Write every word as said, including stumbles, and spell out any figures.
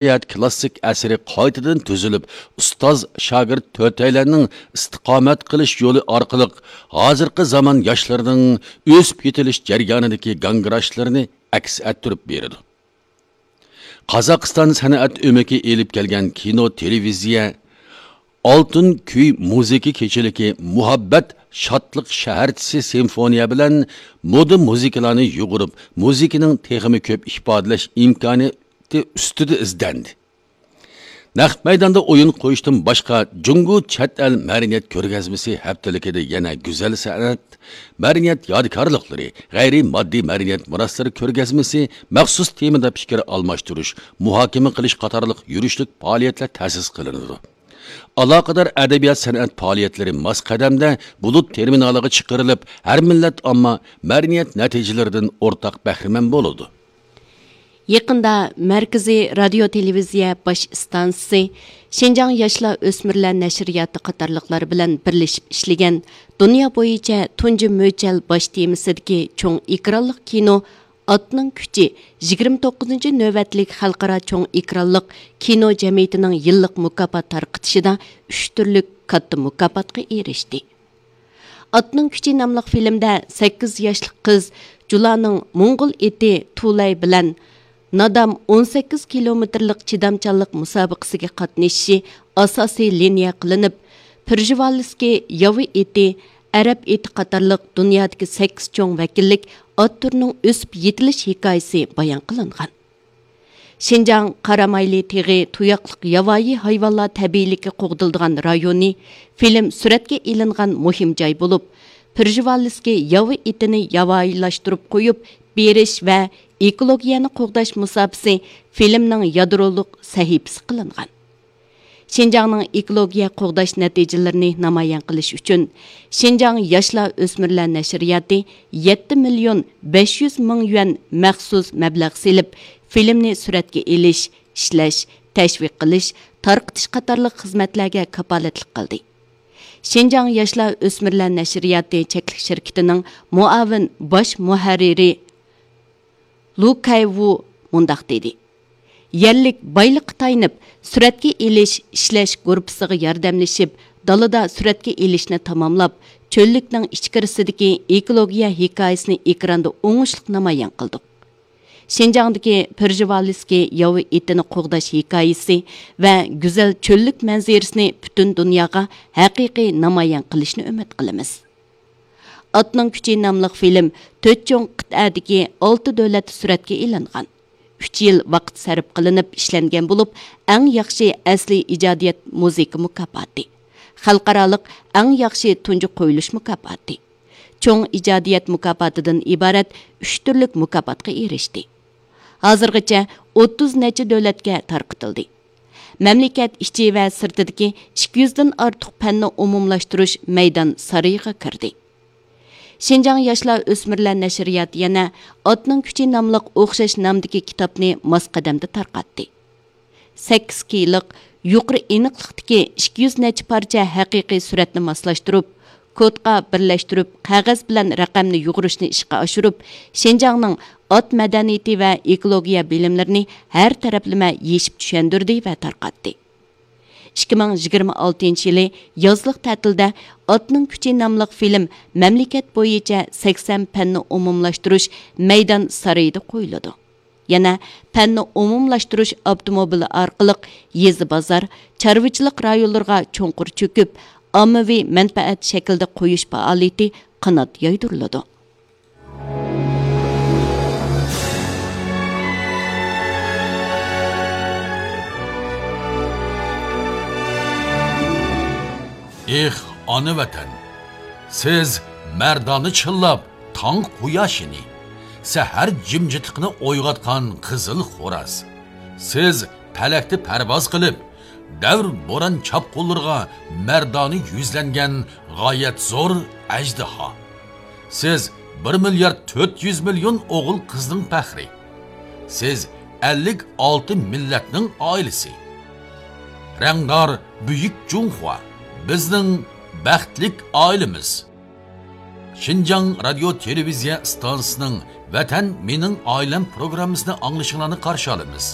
مەدەنىيەت كلاسسىك ئەسىرى قايتىدىن تۈزۈلۈپ، ئۇستاز-شاگىرت تۆتەيلەننىڭ ئىستىقامەت قىلىش يولى ئارقىلىق ھازىرقى زامان ياشلىرىنىڭ ئۆسۈپ يېتىلىش جەريانىدىكى گاڭگىراشلىرىنى ئەكس ئەتتۈرۈپ بېرىدۇ. قازاقىستان سەنئەت ئۆمىكى ئېلىپ كەلگەن كىنو، تېلېۋىزىيە، ئالتۇن كۈي مۇزىكا كېچىلىكى، مۇھەببەت، شادلىق شەھەرچىسى سىمفونىيە بىلەن مودا مۇزىكىلارنى يۇغۇرۇپ، مۇزىكىنىڭ تېخىمۇ كۆپ ئىپادىلەش ئىمكانىيىتى ئۈستىدە ئىزدەندى. نەق مەيداندا ئويۇن قويۇشتىن باشقا، جۇڭگو چەت ئەل مەدەنىيەت كۆرگەزمىسى ھەپتىلىكىدە يەنە گۈزەل سەنئەت، مەدەنىيەت يادىكارلىقلىرى، غەيرىي ماددىي مەدەنىيەت مىراسلىرى كۆرگەزمىسى، مەخسۇس تېمىدا پىكىر ئالماشتۇرۇش، مۇھاكىمە قىلىش قاتارلىق يۈرۈشلۈك پائالىيەتلەر تەسىس قىلىنىدۇ. ئالاقىدار ئەدەبىيات سەنئەت پائالىيەتلىرى ماس قەدەمدە بۇلۇت تېرمىنالىغا چىقىرىلىپ، ھەر مىللەت ئامما مەدەنىيەت نەتىجىلىرىدىن ئورتاق بەھرىمەن بولىدۇ. يېقىندا مەركىزىي رادىيو تېلېۋىزىيە باش ئىستانسىسى، شىنجاڭ ياشلار ئۆسمۈرلەر نەشرىياتى قاتارلىقلار بىلەن بىرلىشىپ ئىشلىگەن دۇنيا بويىچە تۇنجى مۆچەل باش تېمىسىدىكى چوڭ ئېكرانلىق كىنو ئاتنىڭ كۈچى يىگىرمە توققۇزىنچى نۆۋەتلىك خەلقئارا چوڭ ئېكرانلىق كىنو جەمئىيىتىنىڭ يىللىق مۇكاپات تارقىتىشىدا ئۈچ تۈرلۈك كاتتا مۇكاپاتقا ئېرىشتى. ئاتنىڭ كۈچى ناملىق فىلىمدە سەككىز ياشلىق قىز جۇلانىڭ موڭغۇل ئېتى تۇلەي بىلەن نادام ئون سەككىز كىلومېتىرلىق چىدامچانلىق مۇسابىقىسىگە قاتنىشىشى ئاساسىي لىنىيە قىلىنىپ، پېرژېۋالىسكىي ياۋا ئېتى، ئەرەب ئېتى قاتارلىق دۇنيادىكى سەككىز چوڭ ۋەكىللىك ئات تۈرىنىڭ ئۆسۈپ يېتىلىش ھېكايىسى بايان قىلىنغان. شىنجاڭ قارامايلى تېغى تۇياقلىق ياۋايى ھايۋانلار تەبىئىيلىكى قوغدىلىدىغان رايونى فىلىم سۈرەتكە ئېلىنغان مۇھىم جاي بولۇپ، پېرژېۋالىسكىي ياۋا ئېتىنى ياۋايىلاشتۇرۇپ قويۇپ بېرىش ۋە ئېكولوگىيەنى قوغداش مۇساپىسى فىلىمنىڭ يادرولۇق سەھىپىسى قىلىنغان. شىنجاڭنىڭ ئېكولوگىيە قوغداش نەتىجىلىرىنى نامايان قىلىش ئۈچۈن، شىنجاڭ ياشلار ئۆسمۈرلەر نەشرىياتى يەتتە مىليون بەش يۈز مىڭ يۈەن مەخسۇس مەبلەغ سېلىپ، فىلىمنى سۈرەتكە ئېلىش، ئىشلەش، تەشۋىق قىلىش، تارقىتىش قاتارلىق خىزمەتلەرگە كاپالەتلىك قىلدى. شىنجاڭ ياشلار ئۆسمۈرلەر نەشرىياتى چەكلىك شىركىتىنىڭ مۇئاۋىن باش مۇھەررىرى لۇ كەيۋۇ مۇنداق دېدى: يەرلىك بايلىققا تايىنىپ، سۈرەتكە ئېلىش، ئىشلەش گۇرۇپپىسىغا ياردەملىشىپ، دالىدا سۈرەتكە ئېلىشنى تاماملاپ، چۆللۈكنىڭ ئىچكىرىسىدىكى ئېكولوگىيە ھېكايىسىنى ئېكراندا ئوڭۇشلۇق نامايان قىلدۇق. شىنجاڭدىكى پېرژېۋالىسكىي ياۋا ئېتىنى قوغداش ھېكايىسى ۋە گۈزەل چۆللۈك مەنزىرىسىنى پۈتۈن دۇنياغا ھەقىقىي نامايان قىلىشنى ئۈمىد قىلىمىز. ئاتنىڭ كۈچى ناملىق فىلىم تۆت چوڭ قىتئەدىكى ئالتە دۆلەتتە سۈرەتكە ئېلىنغان. ئۈچ يىل ۋاقىت سەرپ قىلىنىپ ئىشلەنگەن بولۇپ، ئەڭ ياخشى ئەسلىي ئىجادىيەت مۇزىكا مۇكاپاتى، خەلقئارالىق ئەڭ ياخشى تۇنجى قويۇلۇش مۇكاپاتى، چوڭ ئىجادىيەت مۇكاپاتىدىن ئىبارەت ئۈچ تۈرلۈك مۇكاپاتقا ئېرىشتى. ھازىرغىچە ئوتتۇز نەچچە دۆلەتكە تارقىتىلدى. مەملىكەت ئىچى ۋە سىرتىدىكى ئىككى يۈزدىن ئارتۇق پەننى ئومۇملاشتۇرۇش مەيدان سارىيىغا كىردى. شىنجاڭ ياشلار ئۆسمۈرلەر نەشرىياتى يەنە ئاتنىڭ كۈچى ناملىق ئوخشاش نامدىكى كىتابنى ماس قەدەمدە تارقاتتى. سەككىز كېيلىق يۇقىرى ئېنىقلىقتىكى ئىككى يۈز نەچچە پارچە ھەقىقىي سۈرەتنى ماسلاشتۇرۇپ، كودقا بىرلەشتۈرۈپ، قەغەز بىلەن رەقەمنى يۇغۇرۇشنى ئىشقا ئاشۇرۇپ، شىنجاڭنىڭ ئات مەدەنىيىتى ۋە ئېكولوگىيە بىلىملىرىنى ھەر تەرەپلىمە يېشىپ چۈشەندۈردى ۋە تارقاتتى. ئىككى مىڭ يىگىرمە ئالتىنچى يىلى يازلىق تەتىلدە ئاتنىڭ كۈچى ناملىق فىلىم مەملىكەت بويىچە سەكسەن پەننى ئومۇملاشتۇرۇش مەيدان سارىيىدا قويۇلىدۇ. يەنە پەننى ئومۇملاشتۇرۇش ئاپتوموبىلى ئارقىلىق يېزا، بازار، چارۋىچىلىق رايونلىرىغا چوڭقۇر چۆكۈپ، ئاممىۋى مەنپەئەت شەكلىدە قويۇش پائالىيىتى قانات يايدۇرۇلىدۇ. ئېھ، ئانا ۋەتەن! سىز مەردانە چىللاپ، تاڭ قۇياشىنى، سەھەر جىمجىتلىقىنى ئويغاتقان قىزىل خوراز. سىز پەلەكتە پەرۋاز قىلىپ، دەۋر بوران چاپقۇنلىرىغا مەردانە يۈزلەنگەن غايەت زور ئەجدىھا. سىز بىر مىليارد تۆت يۈز مىليون ئوغۇل قىزنىڭ پەخرى. سىز ئەللىك ئالتە مىللەتنىڭ ئائىلىسى. رەڭدار بۈيۈك جۇڭخۇا، بىزنىڭ بەختلىك ئائىلىمىز. شىنجاڭ رادىيو تېلېۋىزىيە ئىستانسىسىنىڭ ۋەتەن مېنىڭ ئائىلەم پروگراممىسىنى ئاڭلىشىڭلارنى قارشى ئالىمىز.